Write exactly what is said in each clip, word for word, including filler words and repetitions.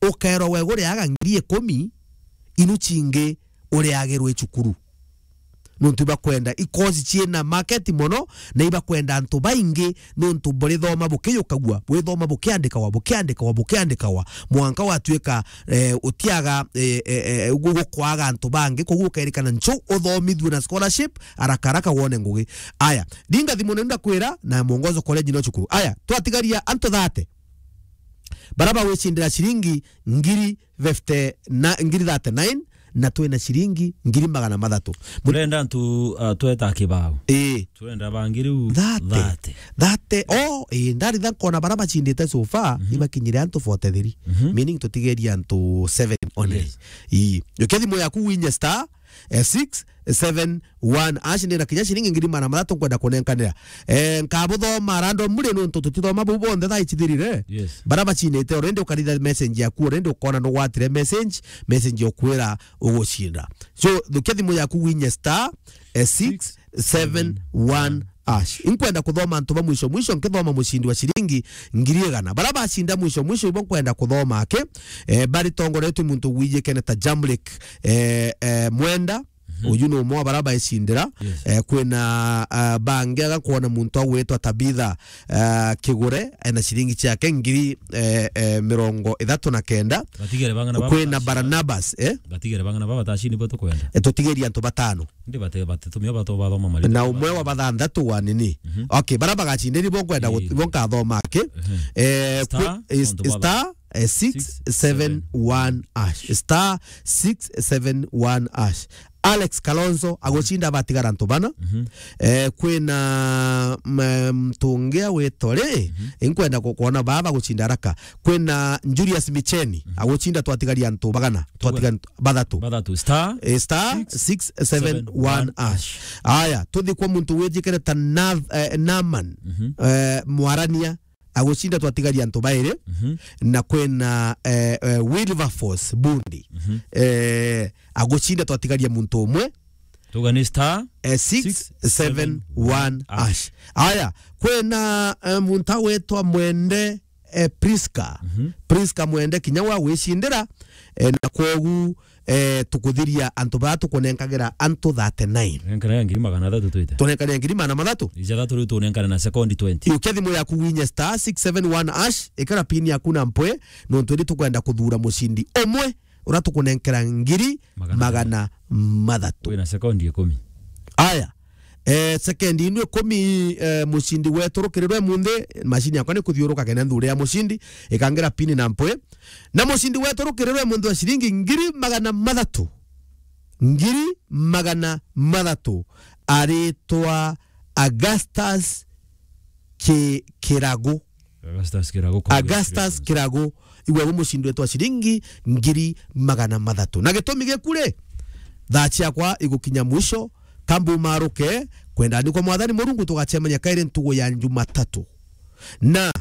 ukeerwa we guriaga ngiri ikumi, inu cingi uriagirwe i cukuru. Nontu ibakwenda i course ciina market mono, na ibakwenda antu baingi, nontu burithoma bukiyukagua, bwithoma bukiandikawa, bukiandikawa, bukiandikawa, mwanka watuika, eh, utiaga, eh, eh, eh, gu-, gukwaga antu bangi, koguo ukerikana nchu uthomithue na scholarship, haraka haraka wone ngugi. Aya, ndinga thimu nenda kwira, na Mwongozo College no cukuru. Aya, twatigaria antu thate. Bara bagwicindira ciringi ngiri fifty na, ngiri thirty-nine, na twina ciringi ngiri magana mathatu. Mu- Turenda antu, uh, tweta kibao. Ii. Turenda bangi riu thate. Thate. Thate. Oh, ii, ndaritha nkona bara bacindite so far, mhm, ibakinyire antu forty-three. Mhm. Meaning tutigeria antu seven only. Yes. Ii. Ukia thimu yaku winye star, eh, six seven one hash, nina kinya ciringi ngiri magana mathatu nkwenda kunenkanira. Eh, nkabuthoma random muri nontu tutithoma buu bonthe thaa ici thirire. Yes. Bara bacinite already ukaritha message yaku already ukona nugwatire message, message yokwira ugucinda. So, thukia thimu yaku winye star, eh, six seven one hash. Inkwenda kuthoma antu ba mwisho mwisho, nkithoma mucindi wa ciringi ngiri igana. Bara bacinda mwisho mwisho, ibo nkwenda kuthoma aki, eh, bari tongoretwe muntu wijikene ta Jamlik, eh, eh, Mwenda, mhm, uyu ni umwe wa bara baicindira. Yes. Eh, kwina, ah, bangi agakwona muntu agwitwa Tabitha, ah, Kigure, ena ciringi ciake ngiri, eh, eh, mirongo ithatu na kenda. Batigere bang'ana baba. Kwina batacini. Barnabas, eh? Batigere bang'ana baba batacini bo tukwenda. Eh, tutigeria antu batano. Ndi bate, bate, tumia bato bathoma mari. Na umwe wa bathanthatu wa nini? Mhm. Okay, bara bagacindiri bo nkwenda gu-, ii, bo nkathoma aki. Mhm. Eh, star, kwi-, is-, nontu baba. Star, eh, six seven one hash. Star six seven one hash. Alex Kalonzo agucinda batigara antu bana. Mhm. Eh, kwina, mm, mtungia witore, mhm, inkwenda ku-, kuona baba gucinda haraka. Kwina Julius Micheni, mhm, agucinda twatigaria antu bagana, twatiga antu bathatu. Bathatu. Star, eh, star six seven one hash. Aya, tuthi kwa muntu wijikire ta Nath-, eh, Naman, mhm, eh, Mwarania, agucinda twatigaria antu bairi, mhm, na kwina, eh, eh, Wilberforce Bundi, mhm, eh, agucinda twatigaria muntu umwe. Tuga ni star, eh, six seven one hash. Aya, kwina, eh, muntu agwitwa Mwende, eh, Priska. Mhm. Priska Mwende kinya wa gwicindira, eh, na kwogu, eh, tukuthiria antu baa tukunenkagira antu thirty-nine. Nenkanira ngiri magana athatu twite. Tunenkanira ngiri magana mathatu? Ija thatu riu tunenkane na sekondi twenty. Iukia thimu yaku winye star six seven one hash, ikara pin yaku na mpwe, nontu indi tukwenda kuthura mucindi umwe uria tukunenkera ngiri magana mathatu. Wina sekondi ikumi. Aya. Eh, sekendi inu ikumi, eh, mucindi wetu rukirirwe munthi, macini yakwa ni kuthiuruka kenda nthure ya mucindi, ikangira pini na mpwi. Na mucindi wetu rukirirwe munthi wa ciringi ngiri magana mathatu. Ngiri magana mathatu. Aritwa Augustus Ki-, Kiragu. Augustus Kiragu, congratulations. Augustus Kiragu, igwe gu mucindi wetu wa ciringi ngiri magana mathatu. Na gitumi giku ri, thaa ciakwa igukinya mwisho, kambu maruke, kwenda ni kwa Mwathani Murungu tugacemania kairi ntugu ya Jumatatu. Na,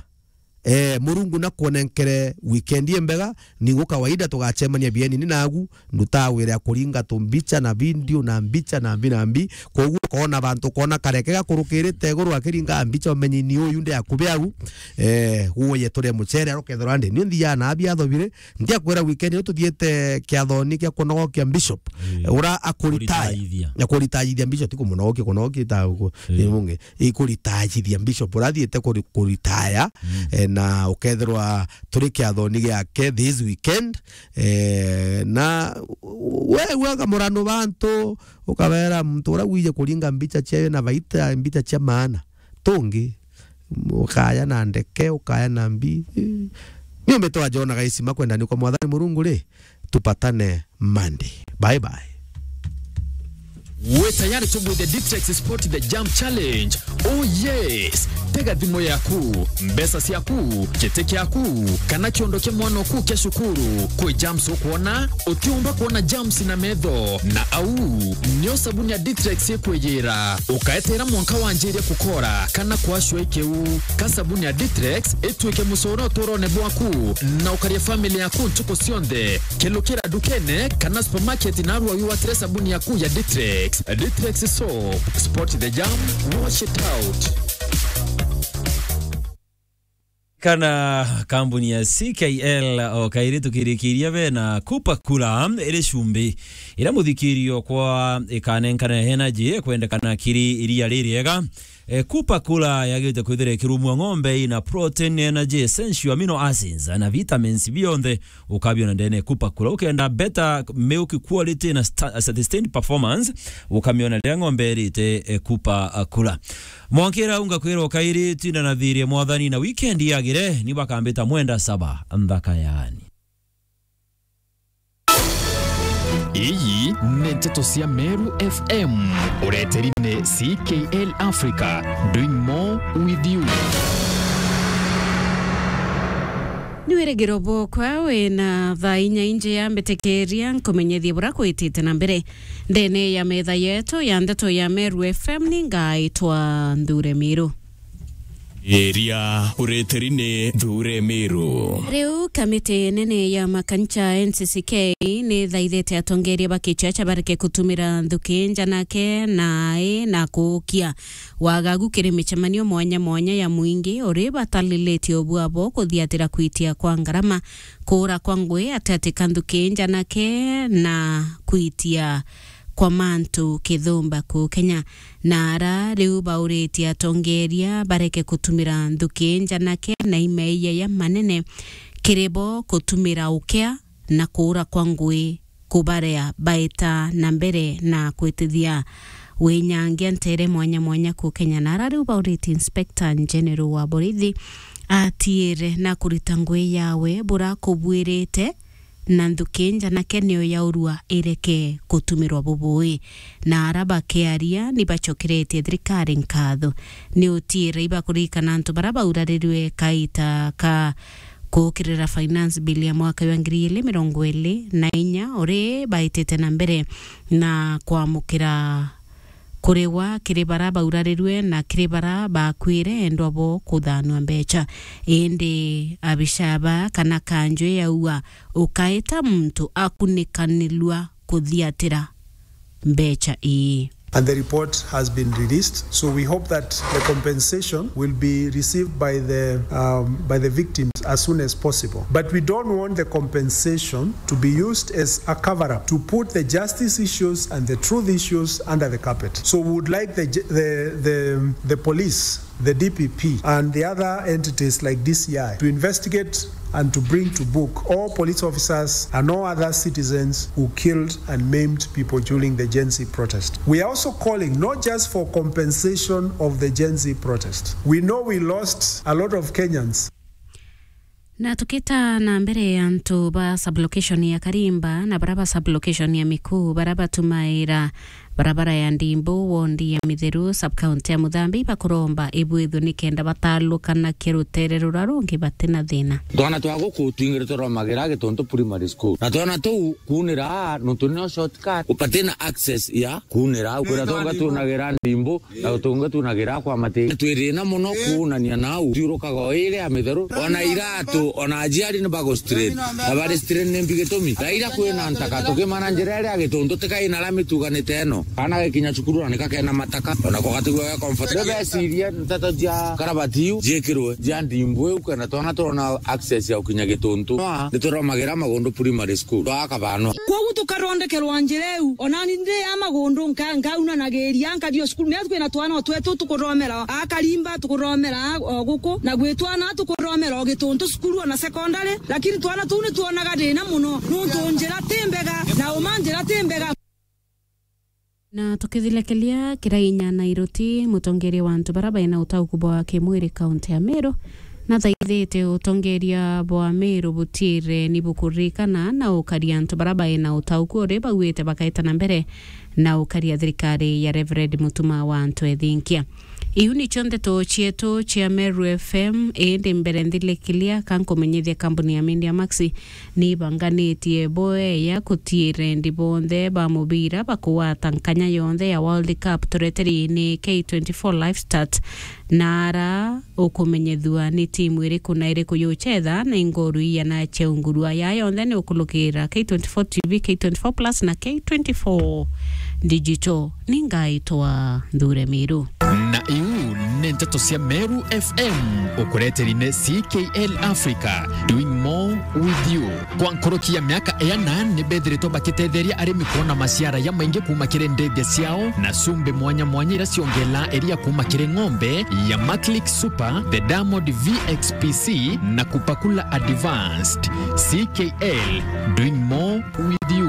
eh, Murungu na kuonenkere weekend imbega, ni gu kawaida tugacemania bieni ni nagu, ndutaa wira ya kuringa tumbicha na video na mbicha na mbi na mbi. Koguo ukoona bantu, ukoona kareke gakurukirite iguru akiringa mbicha, umenye ni uyu ndi akubi au. Eh, guye turie muchere, arukethirwa ndi. Ni nthiaa na abi athobire. Ndiakwira weekend ino tuthiete kiathoni kia kunogokia bishop. Ii. Ura akuritaya. Kuritayithia. Ya kuritayithia bishop, ti kumunogokia, kunogokia ta ku-, ii, ni mungi. Ikuritayithia bishop, urathiite kuri-, kuritaya, mm, eh, na ukethirwa turi kiathoni giake this weekend, eh, na we, we ukamuranu bantu, ukabera muntu uria wije kuringa mbicha ciayo na baita mbicha cia maana. Tungi, ukaya na ndeke, ukaya na mbi. Ni umbitwa Jona Gaisima kwenda ni kwa Mwathani Murungu ri, tupatane Monday. Bye bye. Wi tayari tugwithia Ditrex Sport The Jump Challenge? Oh yes! Tega thimu yaku, mbeca ciaku, giti kiaku, kana kiondo kia mwana oku kia cukuru. Kwi jumps ukwona, utiumba kwona jumps na metho. Na au, nio sabuni ya Ditrex ikwiyira. Ukaeteera mwanka wanjirie kukora kana kwacua ikiu. Ka sabuni ya Ditrex itwike mucoro uturone bwaku, na ukaria family yaku ntuku cionthe. Kelukira ndukene kana supermarket narua wigwatire sabuni yaku ya Ditrex. Ditrex soap. Spot the jam, wash it out. Kana kambuni ya C K L o kairi tukirikiria bena Cooper Cooler iri cumbi iria muthikirio kwa ikanenkana energy kwendekana kiri iria ririega. E, Cooper Cooler yagirite kwithira ikirumwa ng'ombe ina protein, energy, essential amino acids na vitamins bionthe ukabiona ndene Cooper Cooler. Ukenda better milk quality na sta-, sustained performance, ukamiona riria ng'ombe irite, e, Cooper Cooler. Mwankira unga kwirwo kairi, tinda na thiri mwathani na weekend yagire, ni bakambita mwenda saba nthaka yaani. Iyi ni nteto cia Meru F M. Ureteri ni C K L Africa, doing more with you. Ni wirigiro bwokwa wina thaa inya inji ya mbitikiria nkumenyethie bura kwitite na mbere. Ndene ya metha yetu ya ndeto ya Meru F M ni ngaitwa Nthure Miru. Iria ureteri ni Nthure Miru. Riu kamiti nene ya makanisa N C C K ni thaithite atongeria ba kichacha bareke kutumira nthuki njanake nae na kuukia wagagu kiri micemanio mwanya mwanya ya mwingi uri batalilitie ubua bo kuthiatira kwitia kwa ngarama, kuura kwa ngui, atiatika nthuki njanake na kwitia kwa mantu kithumba kuu Kenya. Na ara riu bauritie atongeria bareke kutumira nthuki njanake na imeeyia ya manene kiri bo kutumira ukia na kuura kwa ngui kubarea baita na mbere na kwitithia winyangia ntere mwanya mwanya kuu Kenya. Na ara riu bauritie Inspector General wa borithi atiire na kurita ngui yawe bura kubwirite na nthuki njanake niyo yaurua ireke kutumirwa bubui. Na ara bakiaria ni bacokeretie thirikari nkatho. Ni utiire ibakuririkana antu bara baurarirwe kaita ka kuukirira finance bill ya mwaka wa ngiri igiri mirongo iri na inya, uri baitite na mbere na kwamukira kurigwa kiri bara baurarirwe na kiri bara bakwire endwa bo kuthanua mbecha. Indi abishaba kana kanju yaua ukaita muntu akunikanilua kuthiatira mbecha ii. And the report has been released. So we hope that the compensation will be received by the, um, by the victims as soon as possible. But we don't want the compensation to be used as a cover-up to put the justice issues and the truth issues under the carpet. So we would like the, the, the, the police, the D P P, and the other entities like D C I to investigate and to bring to book all police officers and all other citizens who killed and maimed people during the Gen Z protest. We are also calling not just for compensation of the Gen Z protest. We know we lost a lot of Kenyans. Na tukita na mbere, antu ba sublocation ya Karimba na bara ba sublocation ya Miku bara batumaira barabara ya Ndimbu, wondi ya Mitheru, sub-county ya Muthambi, bakuromba ibwithwe nikenda batalukanakia rutere rura rungi batina thina. Twana twa guku twingire turomagira Gituntu Primary School. Na twana tuu kuunira aa, nontu nio shortcut, batina access ya kuunira au. Kwira tonga tunagira Ndimbu, na tonga tunagira kwa Mati. Twirina muno kuunania nau. Thiurukaga o iri ya Mitheru. Ona iratu, ona aciari ni bagu strain. Na bari strain ni mbi gitumi. Raira kwina ntaka, tukimana njira iria ya Gituntu, tikai na rami tuganite ino. Kana gakinya cukuru na nikakena mataka, ona ko gatigua ga comfort. Ndibeciria nteto cia karabati iu ciikirwe, cia Ndimbu iu, kenda twana turona access ya gukinya Gituntu. Nituromagira Magundu Primary School, twa Kabanwa. Kwogu tukathondekerwa njira iu, onani ndi ya Magundu nka-, nkaunanagiria, nkathio cukuru. Mea kwina twana o twetu tukuromera a Karimba, tukuromera o guku, na gwi twana tukuromera o Gituntu cukuru ona secondary, lakini twana tuu nitwonaga thina muno, nuntu njira ti mbega, na uma njira ti mbega. Na tukithilekelia Kirainya Nairuti, mutongeria wa antu bara baina utauku bwa kimwiri kaunti ya Meru, nathaithite utongeria bwa Meru butire ni bukuririkana na ukaria antu bara baina utauku uri bauite bakaita na mbere na ukaria thirikari ya Reverend Mutuma wa antu ethinkia. Iu nicio ndeto cietu cia Meru F M, indi mbere nthilikilia ka nkumenyithia kambuni ya Media Max ni ibanganitie boeya kutiire ndi bonthe ba mubira bakugwata nkanya yonthe ya World Cup tureteriine K twenty-four Live Start, na ara ukumenyethua ni timu iriku na iriku yuchetha na ingoru iana cia ungurua. Ya yonthe ni ukulukira K twenty-four T V, K twenty-four Plus na K twenty-four Digital. Ni ngaitwa Nthure Miru. Na iu ni nteto cia Meru F M, ukureteri ni C K L Africa, doing more with you. Kwa nkoroki ya miaka iana, ni bethiritwe bakitetheria arimi kwona maciara ya maingi kuuma kiri ndethia ciao na cumbi mwanya mwanya iria ciongela iria kuuma kiri ng'ombe ya Maclick Super, the Diamond V X P C na Kupakula Advanced. C K L, doing more with you.